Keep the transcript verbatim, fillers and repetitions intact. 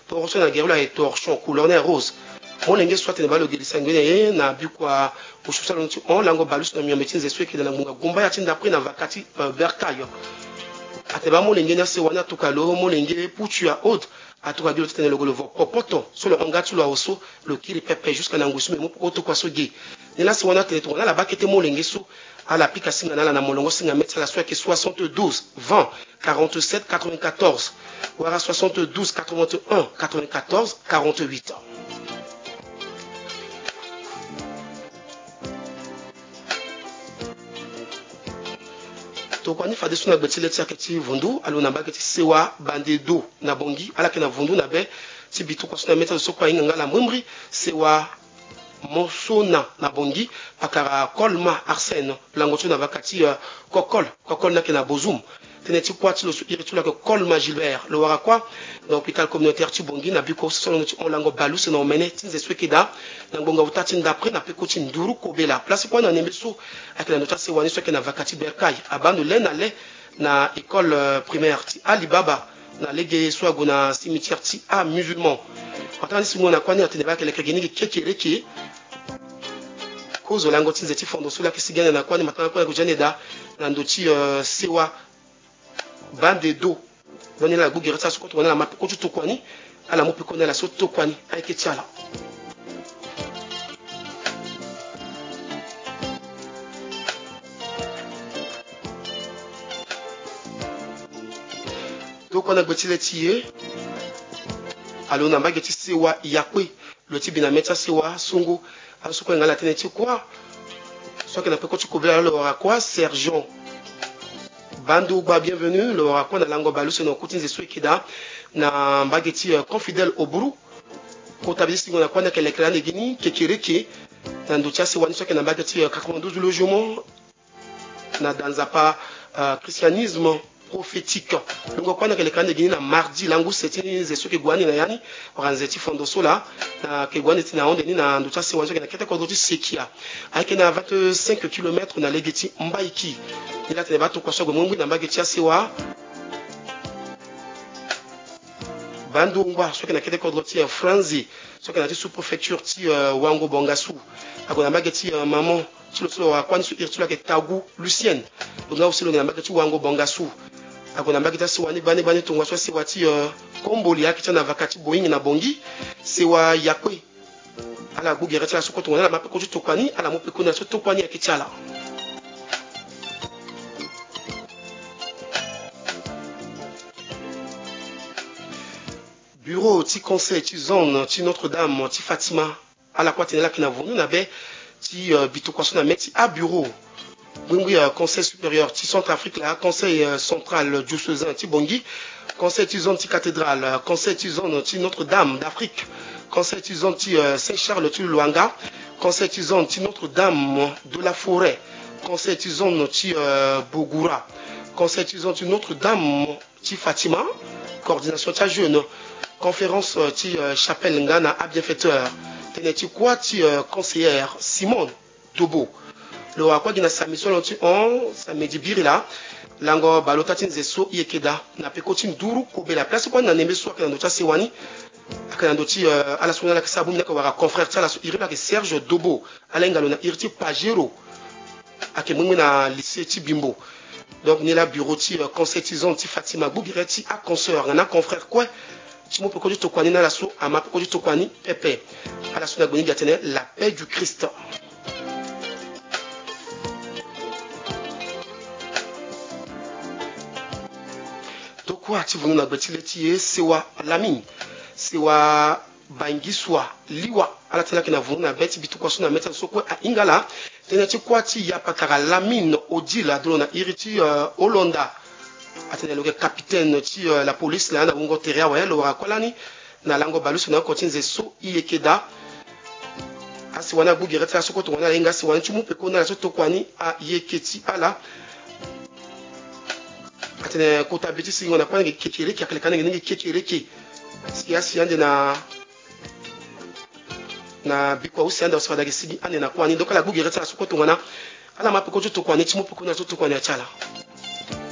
Torchon na gere lo aye torchon, couleur na ye rose. Molenge so atene baa lo ge lisango ni na ye na bikua osusu alondo ti hon lango baleuse na miombe ti nze so eke daa na ngbonga gumbaya ti ndapre na vaka ti, euh, bercail. Atene baa molenge ni asewa ni atuka lo, molenge putu ya aude atuka gi lo titene lo gue lo vo popoto so lo hon nga ti lo awe so, lo kiri pepe jusqu'à na ngoi so me mu peko tokua so ge. Ni laa asewa ni atene tongana ala baa kete molenge so, ala pika singa na ala na molongo singa mê ti ala so ayeke soixante-douze vingt quarante-sept quatre-vingt-quatorze wala soixante-douze quatre-vingt-un quatre-vingt-quatorze quarante-huit. Tokua ni fadeso na gbe ti le ti ayeke ti vundu, alo na mbage ti sewa Bandedo na Bangui, ala yeke na vundu na be ti bitukua so na mê ti azo so kue ahinga nga ala mbrimbri. Sewa Mosona na Bangui, pakara Kolma Arsène, lango ti lo na vaka ti, euh, Kokol, Kokol ni ayeke na Bozoum. Tënë ti kuâ ti lo so iri ti lo ayeke Kolma Gilbert. Lo wara kuâ na hôpital communautaire ti Bangui na biko so so alondo ti hon lango baleuse na omene ti nze so eke daa na ngbonga uta ti ndapre na peko ti nduru kobela. Place kuâ na nembe so ayeke na ndo ti asewa ni so ayeke na vaka ti bercail. Abaa ndo le na le na école, euh, primaire ti Alibaba na lege so ague na cimetière ti amusulman. Atanga ni singo na kuâ ni atene baa ayeke leke gi ni gi kekereke. Kozo lango ti nze ti fondo so laa ayeke sigi ande na kuâ ni matanga kuâ ni ague ti ande daa na ndo ti, euh, sewa Bandedo. Donc ni laa ala gbu gere ti ala so kue tongana ala ma peko ti tokua ni, ala mu peko na ala so tokua ni ayeke ti ala. Tokua na gbe ti le ti e. Alo na mbage ti sewa Yakpe. Lo ti bi na mê ti asewa songo. Azo so kue nga ala tënë ti kuâ so ayeke na peko ti kobela lo wara kuâ Sergent Bando Gba Bienvenu, lo wara kuâ na lango baleuse na oku ti nze so eke daa na mbage ti, euh, Confidèle Oburu. Kota bi ti singo na kuâ ni ayeke lekere ande gi ni kekereke na ndo ti asewa ni so ayeke na mbage ti, euh, quatre-vingt-douze logement na danzapa, euh, christianisme prophétique. Lungo kuâ ni ayeke leke ande gi ni na mardi lango use ti nze so eke gue ande na ya ni wala nze ti fondo so laa, na ayeke gue ande ti na ahunde ni na ndo ti asewa ni so ayeke na kete kodro ti Sekia. Ayeke na vingt-cinq kilomètres na lege ti Mbaiki. Ni laa atene baa tokua so ague mongbi na mbage ti asewa Bandongba so ayeke na kete kodro ti, euh, Franzi, so ayeke na ya ti sous-préfecture ti, euh, Wango Bangassou. Ague na mbage ti, euh, maman ti lo so lo wara kuâ ni so iri ti lo ayeke Tagu Lucienne. Lo nga aussi lo yeke na mbage ti Wango Bangassou. Ague na mbage ti asewa ni gbani gbani tongana so asewa ti, euh, Komboli ayeke ti ala na vaka ti Boeing na Bangui. Sewa Yakpe. Ala gbu gere ti ala so kue tongana ala ma peko ti tokua ni, ala mu peko na ala so tokua ni ayeke ti ala. Bureau ti conseil ti zone ti Notre-Dame ti Fatima. Ala kue atene ala yeke na vundu na be ti, euh, bitukua so na mê ti abureau. Gbingbi, euh, conseil supérieur ti Centrafrique laa, conseil, euh, central diocésain ti Bangui, conseil ti zone ti Cathédrale, euh, conseil ti zone ti Notre-Dame d'Afrique, conseil ti zone ti, euh, Saint-Charles ti Luanga, conseil ti zone ti Notre-Dame de la Forêt, conseil ti zone ti, euh, Bogura, conseil ti zone ti Notre-Dame ti Fatima, coordination ti ajeune, conférence, euh, ti, euh, chapelle nga na abienfaiteur. Tënë ti kuâ ti, euh, conseillère Simone Dobo. Lo wara kuâ gi na samedi so lo ti hon, samedi biri laa, lango baleota ti nze so e yeke daa na peko ti nduru kobela. Place kuâ ni na nembe so ayeke na ndo ti asewa ni, ayeke na ndo ti, euh, ala so ni ala yeke sara bongbi ni ayeke wara confrère ti ala so iri lo ayeke Serge Dobo. Ala hinga lo na iri ti Pajero. Ayeke mengbe na lycée ti Bimbo. Donc ni laa bureau ti, euh, conseil ti zone ti Fatima gbu gere ti aconsoeur nga na aconfrère kue ti mu peko ti tokua ni na ala so ama peko ti tokua ni pepe. Ala so na gbe ni gi atene la paix du Christ. Tokua ti vundu na gbe ti le ti e, sewa Lamine, sewa Bangisua Liwa, ala ti ni ayeke na vundu na be ti bitukua so na mê ti azo so kue ahinga ala. Tënë ti kuâ ti yapakara Lamine Odile ado lo na iri ti, euh, Holanda. Atene lo yeke capitaine ti, euh, la police laa na wungo tere awe, lo wara kuâ lani na lango baleuse na oko ti nze so e yeke daa. Asewa ni agbu gere ti ala so kue tongana ala hinga asewa ni ti mu peko na ala so tokua ni ayeke ti ala. Atene kota be ti singo na kuâ ni ayeke kekereke, ayeke leke ande gi ni gi kekereke. Si asi ande na na bikua use ande, use fade ayeke sigi ande na kuâ ni. Donc ala gbu gere ti ala so kue tongana ala ma peko ti tokua ni ti mu peko na ala so tokua ni aye ti ala.